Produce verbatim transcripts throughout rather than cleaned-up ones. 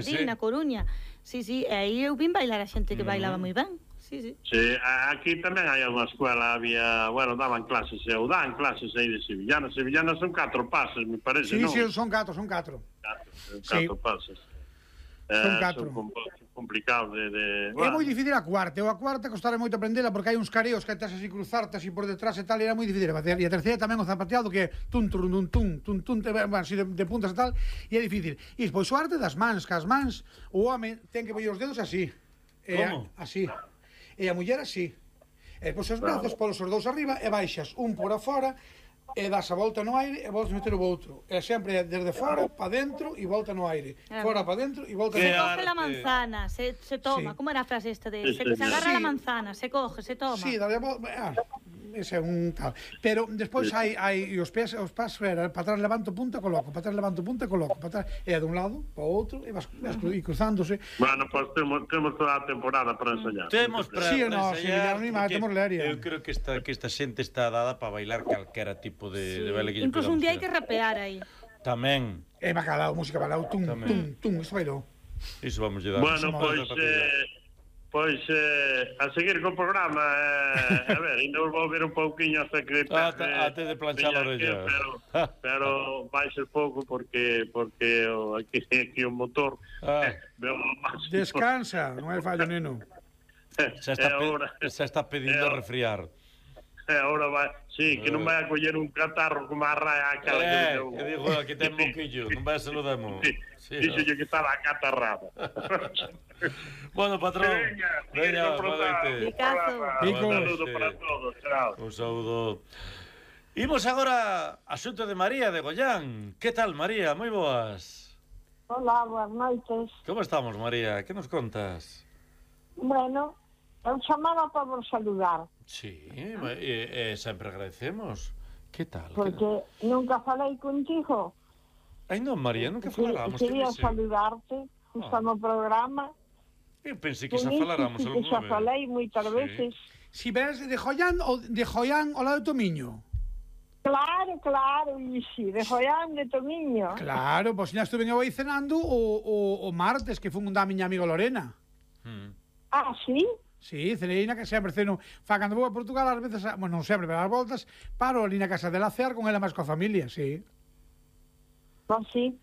Sí, na Coruña. Sí, sí, e aí eu vin bailar a xente que bailaba moi ben. Sí, sí. Sí, aquí tamén hai unha escuela, había, bueno, daban clases, ou dan clases aí de sevillana. Sevillana son catro pases, me parece, sí, non? Sí, sí, son catro, son catro. Catro, catro sí. pases. Son eh, catro. Son complicados de... de... É bueno. moi difícil a cuarta. Eu a cuarta costara moito aprendela porque hai uns careos que estás así cruzarte así por detrás e tal, e era moi difícil de facer. E a terceira tamén o zapateado que é tum, tum, tum, tum, tum, tum, bueno, así de, de puntas e tal, e é difícil. E despois o arte das mans, que as mans, o home ten que poñer os dedos así. Como? E, así. E a muller así. E depois os brazos polos os dous arriba e baixas un por afora e das a volta no aire e voltas meter o outro. E sempre desde fora para dentro e volta no aire. Ah. Fora para dentro e volta no aire. aire. Se coge la manzana, se, se toma. Sí. Como era a frase esta de? Se, se agarra sí. la manzana, se coge, se toma. Sí, dale, ah, ese é un tal. Pero despois hai hai os pés, os pas para atrás levanto punta coloco, para atrás levanto punta coloco, para atrás e de un lado para o outro e vas, vas uh-huh. cruzándose. Bueno, pois pues, temos temos toda a temporada para ensayar. Temos para sí, no, ensayar. Sí, no, temos leria. Eu creo que esta que esta xente está dada para bailar calquera tipo de sí. de baile que incluso un día hai que rapear aí. Tamén. É bacalao, música bacalao, tum, tum, tum, isto bailou. Iso vamos a dar. Bueno, pois eh Pois, eh, a seguir co programa, eh, a ver, ainda vos vou ver un pouquiño hasta que... Ate de planchar a orella. Pero, pero vai ser pouco porque porque o, aquí, aquí o motor... Ah. Eh, Descansa, non hai fallo, neno. Xa está, pe xa está pedindo a refriar. E agora vai... Sí, que non vai a coller un catarro como a raya aquela eh, que deu. Que digo, aquí ten moquillo, non vai a se lo demo. Sí, dixo sí, que estaba acatarrada. Bueno, patrón. Veña, veña, boa noite. Picazo. Un saludo para todos, chao. Un saúdo. Imos agora a asunto de María de Gollán. Que tal, María? Moi boas. Hola, boas noites. Como estamos, María? Que nos contas? Bueno, eu chamaba para vos saludar. Sí, e, e sempre agradecemos. Que tal? Porque que... nunca falei contigo. Ai non, María, nunca faláramos. Quería saludarte, justo oh. no programa. Eu pensei que xa faláramos algún vez. Xa falei moitas sí. veces. Si ves de Joián ou de Joián ao lado de Tomiño? Claro, claro, e si, de Joián de Tomiño. Claro, pois xa estuve aí cenando o, o, o martes que fun da miña amiga Lorena. Hmm. Ah, sí? Sí, cenei na que sempre ceno. Fa, cando vou a Portugal, ás veces, bueno, non sempre, pero ás voltas, paro ali na casa de la cear con ela máis coa familia, sí. Pois sí.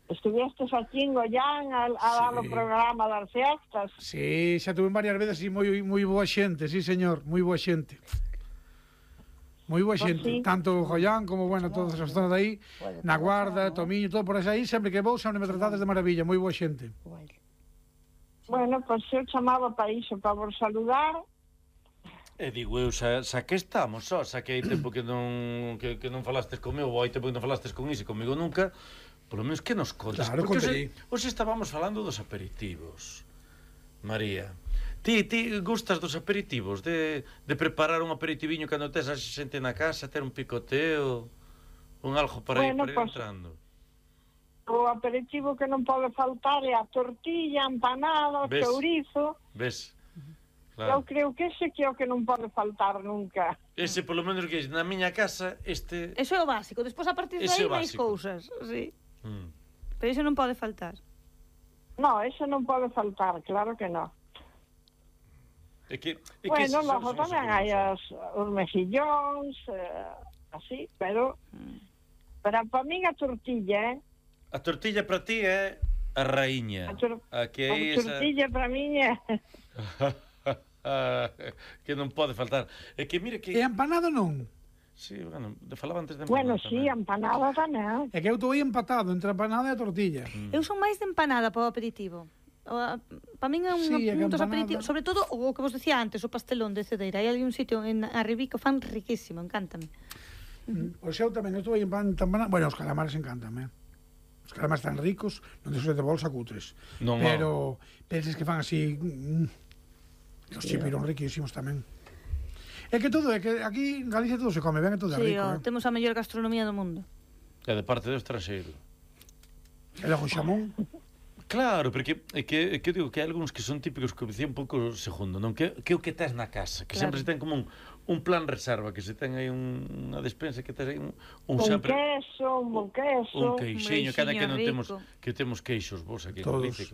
Estuvestes aquí en Gollán a, a sí. dar o programa das fiestas. Sí, xa tuve varias veces e moi moi boa xente, sí, señor, moi boa xente. Moi boa xente, pues sí. Tanto Gollán como, bueno, todas as zonas de aí, na Guarda, Tomiño, todo por aí, sempre que vou, sempre me tratades de maravilla, moi boa xente. Bueno, pois pues eu chamaba para iso, para vos saludar. E digo eu, xa, xa que estamos, só, xa que hai tempo que non, que, que non falastes comigo, ou hai tempo que non falastes con iso e comigo nunca, polo menos que nos contas. Claro, porque hoxe estábamos falando dos aperitivos, María. Ti, ti gustas dos aperitivos, de, de preparar un aperitiviño cando tes a xente na casa, ter un picoteo, un algo para bueno, ir, para ir pues, entrando? O aperitivo que non pode faltar é a tortilla, empanada, o chourizo. Ves? Claro. Eu creo que ese que é o que non pode faltar nunca. Ese, polo menos, que na miña casa, este... Eso é o básico. Despois, a partir de aí, máis cousas. Sí. Mm. Pero iso non pode faltar. No, eso non pode faltar, claro que non. É que, é bueno, que logo tamén hai os, os mexillóns, eh, así, pero... Mm. Pero para min a tortilla, eh? A tortilla para ti é a raíña. A, tor a, que a tortilla esa... para min é... que non pode faltar. É que mire que... E empanado non? Sí, bueno, te falaba antes de empanada. Bueno, sí, empanada tamén. É que eu estou aí empatado entre a empanada e a tortilla. Mm. Eu son máis de empanada para o aperitivo. Para min é un, sí, un dos aperitivos, sobre todo o que vos decía antes, o pastelón de cedeira. Hai ali un sitio en Arribí que o fan riquísimo, encántame. Mm. O seu tamén, eu estou aí empanada. Bueno, os calamares encántame. Os calamares tan ricos, non te de bolsa cutres. Non, pero penses que fan así... Mm, os chipiron riquísimos tamén. É que todo, é que aquí en Galicia todo se come ben, é todo sí, rico. Oh, eh? Temos a mellor gastronomía do mundo. É de parte do estranxeiro. E logo xamón. Claro, porque é que, é que eu digo que hai algúns que son típicos que obedecían un pouco segundo, non? Que, que o que tes na casa, que claro. Sempre se ten como un, un plan reserva, que se ten aí un, unha despensa, que tes aí un... Un, un sempre, queso, un bon queso. Un queixeño, cada que non rico. temos, que temos queixos, vos aquí todos. En Galicia,